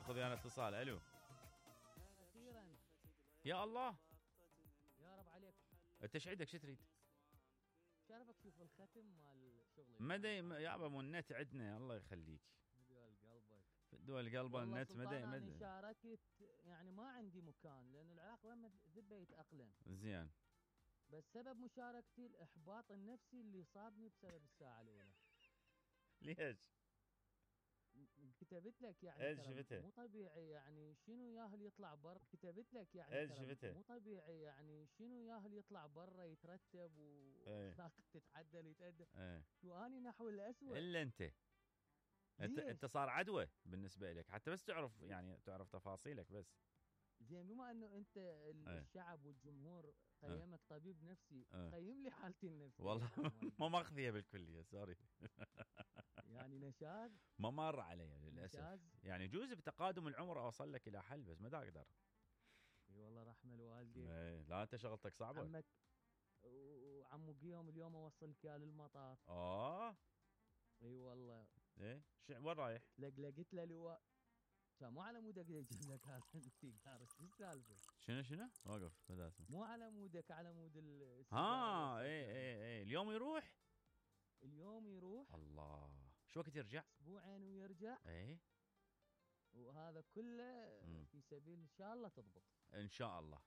ناخذ ويانا اتصال. الو اخيرا يا الله يا رب عليك. انت ايش عندك؟ شو تريد؟ شرفك شوف الختم مال شغلي مدى يابا مو النت عندنا الله يخليك. دول قلبك دول قلبه النت مدى مدى. شاركت يعني ما عندي مكان لان العراق لما ذبه يتاقلم زين، بس سبب مشاركتي الاحباط النفسي اللي صابني بسبب الساعه الاولى. ليش؟ كتبت لك يعني شفتها؟ مو طبيعي يعني شنو ياهل يطلع برا. كتبت لك يعني شفتها؟ مو طبيعي يعني شنو ياهل يطلع برا يترتب واخلاقه تتعدل يتأدب. واني نحو الاسوء الا انت صار عدوى بالنسبه لك حتى بس تعرف يعني تعرف تفاصيلك بس. زين بما انه انت الشعب والجمهور قيمك طبيب نفسي قيم لي حالتي النفسيه. والله ما ماخذيها بالكليه سوري. يعني نشاز ما مر علي للاسف. يعني جوز بتقادم العمر اوصل لك الى حل بس ما دا اقدر. اي والله رحمه الوالدين. لا انت شغلتك صعبه. عمك وعمو قيوم اليوم اوصلك اياه للمطار. اي والله. ايه وين رايح؟ لقيت له لواء مو على مودك يجيب لك هذا السيجار. شو السالفه؟ شنو واقف بداسم. مو على مودك على مود السيجار. ايه اليوم يروح الله. شو وقت يرجع؟ اسبوعين ويرجع. ايه وهذا كله في سبيل ان شاء الله تضبط ان شاء الله.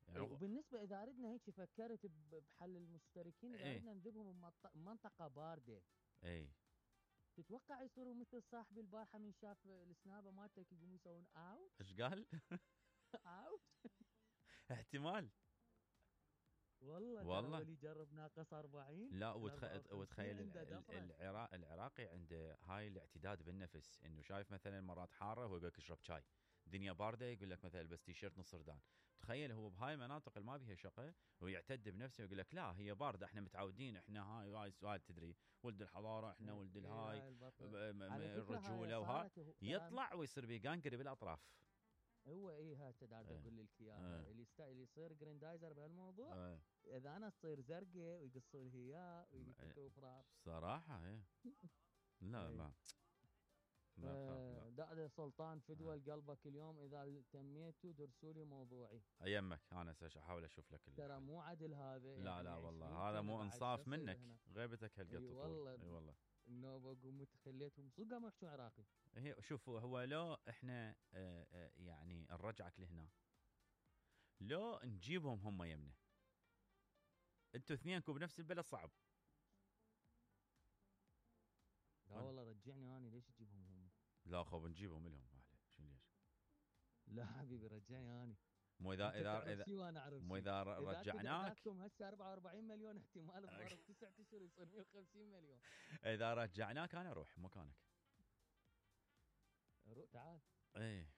يعني وبالنسبه اذا ردنا هيك فكرت بحل المشتركين اذا ردنا ندبهم منطقه بارده. تتوقع يصيروا مثل صاحبي البارحه من شاف السنابه مالتك يقوموا يسوون اوت. ايش قال؟ اوت. احتمال والله اللي جرب ناقص 40. لا وتخيل العراقي عنده هاي الاعتداد بالنفس انه شايف مثلا مرات حاره وهو يقول لك اشرب شاي، دنيا بارده يقول لك مثلا بس تيشيرت نص ردان. تخيل هو بهاي المناطق اللي ما بيها شقه ويعتد بنفسه ويقول لك لا هي بارده احنا متعودين احنا هاي سؤال تدري ولد الحضاره احنا ولد الهاي الرجوله وها يطلع ويصير بيقانقري بالاطراف. هو هسه دار اقول لك اياها اللي يصير جريندايزر بهالموضوع اذا انا تصير زرقاء ويقصوا لي اياه ويفكروا فرار صراحه. لا ما داده سلطان فدوى قلبك اليوم اذا تميتوا درسوا لي موضوعي يمك انا احاول اشوف لك ترى مو عدل هذا. لا يعني والله هذا مو انصاف منك هنا. غيبتك هالقد تطول. اي والله النوبه قمت خليتهم صدق ما يحكون عراقي. شوفوا هو لو احنا يعني نرجعك لهنا لو نجيبهم هم يمنا انتوا اثنينكم بنفس البلد صعب. لا والله رجعني اني ليش تجيبهم هم؟ لا خو نجيبهم لهم اهله شو ليش؟ لا حبيبي رجعني اني. مو اذا رجعناك هسه 44 مليون احتمال بظرف 9 اشهر يصير 150 مليون. اذا رجعناك انا اروح مكانك. تعال. ايه